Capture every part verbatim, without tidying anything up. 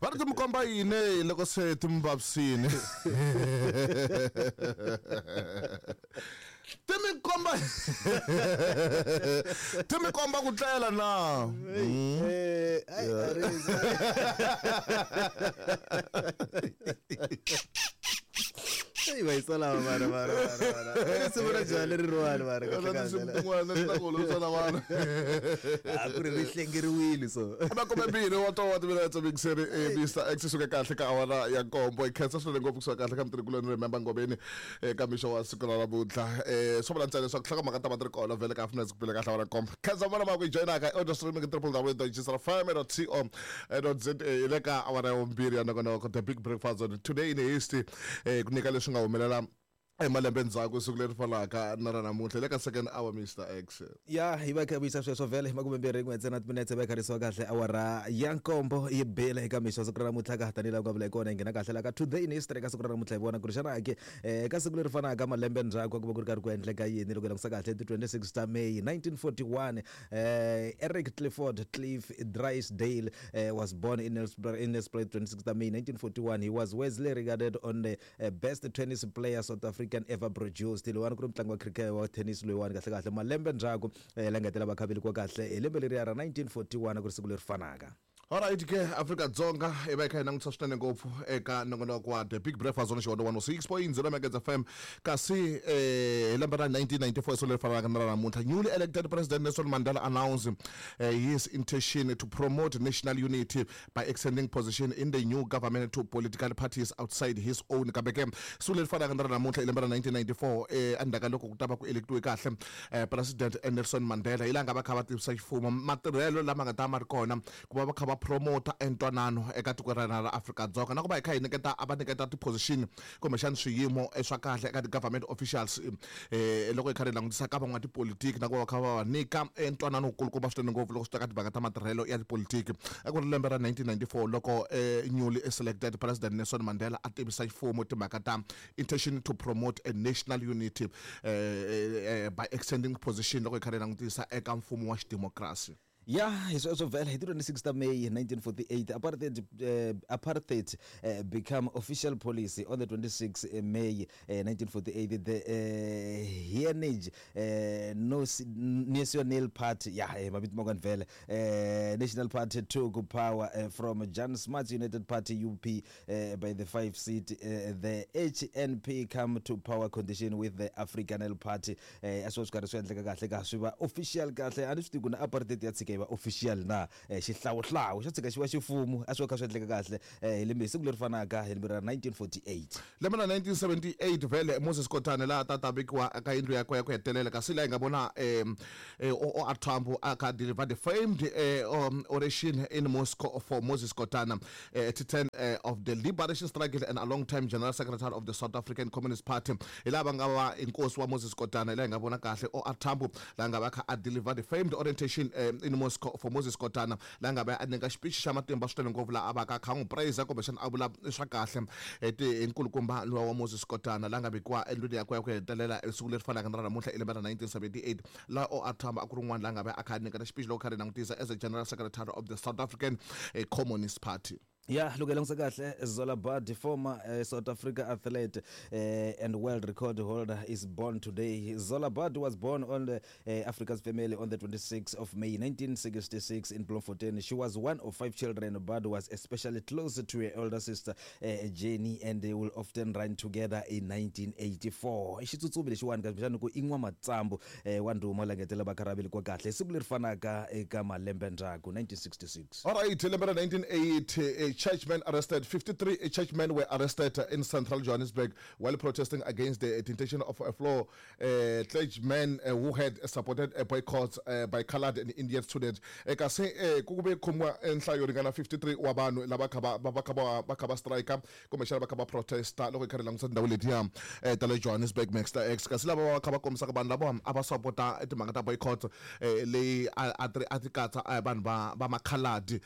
Va ri ti mi komba yini loko se ti mi vavisini? Ti mi komba ti mi komba ku tlela na? Eh, ai Arisa. Ei, vai só lá, mara, mara, mara, mara. Risimu ra njhani leriwani mara kahle kahle? Tin'wana ta ku olovisa vana. A ku ri ri hlengeriwile so. Makume mbirhi wa towa timinetse mixeri eh Mister X suka kahle ka awara ya nkombo. Hi khensa swinene ngopfu kusuka kahle ka mutirhikuloni Remember Ngobeni eka mixo wa siku ra namuntlha. Eh swo vula ntsena leswaku nhlokomhaka ta va ti ri kona vhele ka Afternoon ku pele kahle awara nkombo. Khensa vona va ku joyinaka audio streaming w w w dot g s r f m dot co dot z a le ka awara ya vumbirhi ya nongonoko The Big Breakfast on Today in History eh ku nyika leswi nga humelela emalembe ndzhaku siku leri fanaka na ra namuntlha le ka second hour Mister X. Ya hi va kha vuyisa sweswo vhele makume mbirhi n'we ntsena timinetse va kharisiwa kahle awara ya nkombo yi bile eka mixo siku ra namuntlha ka tanihi laha ku nga vula hi kona hi nghena kahle la ka Today in History ka siku ra namuntlha hi vona ku ri xana ke ka siku leri fanaka malembe ndzhaku ku va ku ri karhi ku endleka yini loko hi langutisa kahle ti twenty-six ta May nineteen forty-one eh Eric Clifford Cliff Drysdale eh, was born in Nelspruit in Nelspruit twenty-six ta May nineteen forty-one. He was widely regarded on the uh, best tennis player South Africa ever produced. Loyiwani ku ri mutlangi wa cricket wa tennis loyiwani kahle kahle malembe ndzhaku la nga hetelela va kha velekiwa kahle hi lembe leriya ra nineteen forty-one ku ri siku leri fanaka. Alright ke Afrika Dzonga hi va hi kha hi langutisa swinene ngopfu eka nongonoko wa The Big Breakfast on Xihondzo one oh six point zero Megahertz F M kasi eh hi lembe ra nineteen ninety-four siku leri fanaka na ra namuntlha newly elected President Nelson Mandela announced uh, his intention to promote national unity by extending position in the new government to political parties outside his own. Kambe ke siku leri fanaka na ra namuntlha hi lembe ra nineteen ninety-four eh endzhaku ka loko ku ta va ku electiwe kahle eh, President Nelson Mandela hi laha nga va kha va tivisa ximfumo matirhelo lama nga ta ma ri kona ku va va kha va promota entwanano eka tiko ra hina ra Afrika Dzonga na ku va hi kha hi nyiketa a va nyiketa ti-position kumbexana swiyimo swa kahle eka ti-government officials eh loko hi kha hi langutisa ka van'watipolitiki na ku va va kha va va nyika entwanano wukulukumba swinene ngopfu loko swi ta ka timhaka ta matirhelo ya tipolitiki. A ku ri lembe ra nineteen ninety-four loko eh, newly selected President Nelson Mandela a tivisa ximfumo timhaka ta intention to promote a national unity eh, eh, by extending position loko hi kha hi langutisa eka mfumo wa xidemokirasi. Ya hi sweswo vhele hi ti twenty-six ta May nineteen forty-eight apartheid uh, apartheid uh, become official policy on the twenty-sixth May uh, nineteen forty-eight. The uh, Heritage uh, no, National Party ya eh, mavito man'wana vhele uh, National Party took power uh, from Jan Smuts United Party U P uh, by the five seat. Uh, the H N P come to power condition with the Afrikaner Party a swi karhi swi endleka kahle ka swi va official kahle a ni swi tivi ku na apartheid ya tshika va official na xihlawuhlawu xo tshika xi va xifumo a swi kha swi endleka kahle hi lembe siku leri fanaka hi lembe ra nineteen forty-eight. Lembe ra nineteen seventy-eight vhele Moses Kotane laha ta ta vekiwa ka yindlu yakwe ya ku hetelela kasi laha hi nga vona O R Tambo a kha deliver the famed um, oration in Moscow for Moses Kotane, uh, titan uh, of the liberation struggle and a long time general secretary of the South African Communist Party. Hi laha va nga va inkosi wa Moses Kotane laha hi nga vona kahle O R Tambo laha nga va kha a deliver the famed orientation um, in Moscow for Moses Kotane laha nga va a nyika xipichi xa matimba swinene ngopfu laha a va ka kha n'wi praise kumbexana a vula swa kahle hi nkulukumba luwa wa Moses Kotane laha nga vekiwa endlwini yakwe ya ku hetelela siku leri fanaka na ra namuntlha hi lembe ra nineteen seventy-eight laha O R Tambo a ku ri un'wana laha nga va a kha a nyiketa xipichi loko kha ri langutisa as a general secretary of the South African Communist Party. Ya loko hi langutisa kahle Zola Budd, former uh, South Africa athlete uh, and world record holder, is born today. Zola Budd was born on the uh, Africa's family on the twenty-sixth of May nineteen sixty-six in Bloemfontein. She was one of five children. Budd was especially close to her older sister uh, Jenny, and they will often run together in nineteen eighty-four. I xitsutsumi lexiwani kumbexana ku i n'wamatsambu wa ndhuma la ngetela va kha kwa kahle siku leri fanaka eka malembe ndzhaku nineteen sixty-six. All right, lembe ra nineteen eighty churchmen arrested. fifty-three churchmen were arrested in central Johannesburg while protesting against the detention of a floor uh, clergyman uh, who had supported a boycott uh, by colored and Indian students. Kasi ku ve khomiwa nhlayo ringana fifty-three wa vanhu lava kha va va kha va kha va strike kumbexana va kha va protesta loko hi kha ri langutisa tindhawu letiya ta le Johannesburg Mister X. Kasi lava va kha va kombisaka vanhu lava a va sapota timhaka ta boycott leyi a ti a ti katsa vanhu va va makhaladi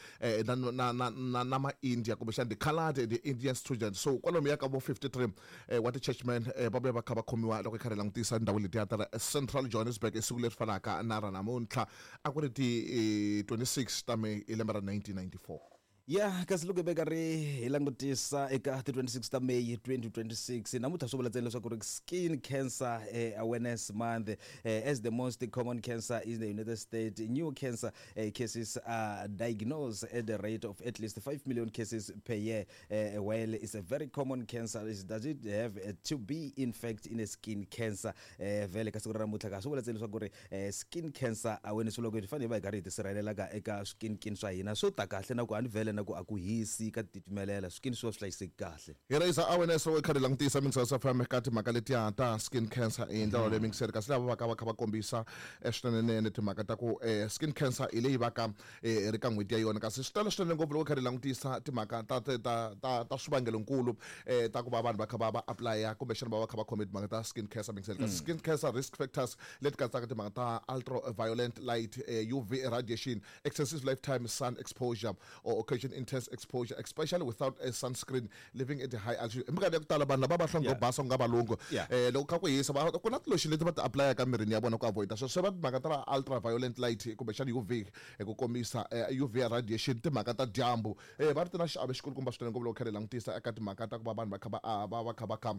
na na na na ma India kumbexana the colored and the Indian students. So kwalomu ya ka vo fifty-three wa ti-churchmen va vuya va kha va khomiwa loko hi kha ri langutisa ndhawu letiya ta Central Johannesburg esiku leri fanaka na ra namuntlha a ku ri ti twenty-six ta May hi lembe ra nineteen ninety-four. Ya kasi loko hi ve karhi hi langutisa eka ti twenty-six ta May twenty twenty-six namuntlha swi vula ntsena leswaku ri skin cancer eh, awareness month eh, as the most common cancer in the United States, new cancer eh, cases are diagnosed at the rate of at least five million cases per year. Eh, while it's a very common cancer, is does it have eh, to be in fact in a skin cancer? Eh, vhele ka siku ra namuntlha ka swi vula ntsena leswaku ri eh, skin cancer awareness loko hi fanele hi va hi karhi hi tisirhelela ka eka skin swa hina swo ta kahle na ku a ni vhele na ku a ku hisi ka titimelela skin swi va swi hlayiseki kahle. Hi raise awareness loko hi kha hi langutisa mingiselo F M ka timhaka letiya ta skin cancer hi ndlela leyi mingiselo kasi lava va ka va kha va kombisa eh, swinenenene timhaka ta ku eh, skin cancer hi leyi va ka eh, ri ka n'hweti ya yona kasi swi tele swinene ngopfu loko hi kha hi langutisa timhaka ta ta ta ta, ta swivangelonkulu eh, ta ku va vanhu va kha va va apply-a kumbexana va va kha va khome timhaka ta skin cancer mingiselo kasi skin cancer risk factors leti katsaka timhaka ta ultraviolet light, eh, U V radiation, excessive lifetime sun exposure or occasion intense exposure, especially without a sunscreen, living at a high altitude. Hi minkarhi ya ku tala vanhu lava va hlonga Yeah. basa ku nga valungu. Yeah. Eh, loko kha ku hisa, va ku na ti-lotion leti va ti apply-aka emirini ya vona ku avoid-a sweswo. Se va timhaka ta ultraviolet light kumbexana U V hi ku komisa, eh, U V radiation, timhaka ta dyambu. Eh, va ri ti na xiave xikulukumba swinene ngopfu loko kha hi langutisa eka timhaka ta ku va vanhu va kha va, ah, va, va kha va kha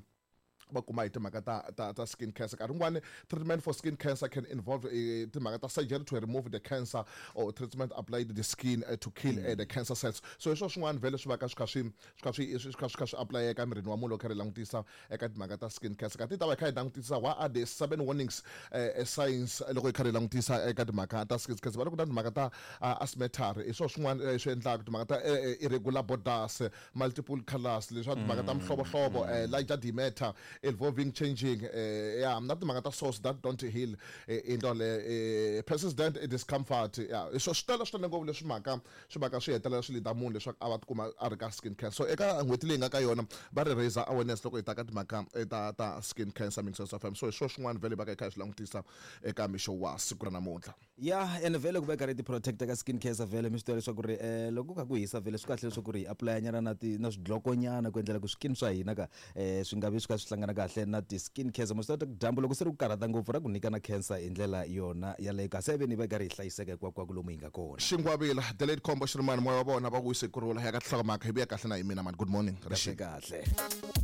va kuma hi timhaka ta, ta, ta skin cancer. Nkarhi wun'wani treatment for skin cancer can involve, eh, timhaka ta surgery to remove the cancer or treatment applied to the skin, eh, to kill, eh, the cancer cells. So hi swo swin'wana vhele swi va ka swi kha swi, swi kha swi, swi kha swi kha swi apply-eka emirini wa munhu loko kha ri langutisa eka timhaka ta skin cancer. Kasi hi ta va hi kha hi langutisa what are the seven warnings, eh, eh, signs loko hi kha ri langutisa eka timhaka ta skin cancer. Va ri ku na timhaka ta, ah, asymmetry, hi swo swin'wana, eh, swi endlaka timhaka ta, eh, eh, irregular borders, multiple colors, leswi timhaka ta mihlovohlovo, eh, larger diameter involving changing, eh, yeah, na timhaka ta source that don't heal, eh, in ndlela leyo, eh, persistent discomfort, yeah. So swi tele swinene ngopfu leswi mhaka swi mhaka swi hetelela swi lead-a munhu leswaku a va tikuma a ri ka skin cancer. So eka n'hweti leyi nga ka yona va ri raise awareness loko hi ta ka timhaka, eh, ta, ta skin cancer mingiselo F M. So hi swo swin'wana vhele va ka hi kha hi swi langutisa eka mixo wa siku ra namuntlha. Ya, ene vhele ku va hi karhi hi ti protect-a ka skin cancer vhele mi swi tiva leswaku ri, eh, loko ku kha ku hisa vhele swi kahle leswaku ri hi apply-a nyana na ti, na swidlokonyana ku endlela ku skin swa hina ka, eh, swi nga vi swi kha swi hlangana kahle na ti skin cancer. Mo swi tiva ku dyambu loko se ri ku karhata ngopfu ra ku nyika na cancer hi ndlela yona yaleyo, kasi a ve ni va hi karhi hi hlayiseka hinkwako lomu hi nga kona. Xingwavila the late Khombo Shirimani, moya wa vona va ku wise kurhula ya ka tinhlokomhaka hi vuya kahle na hi mina man. Good morning. Kahle kahle.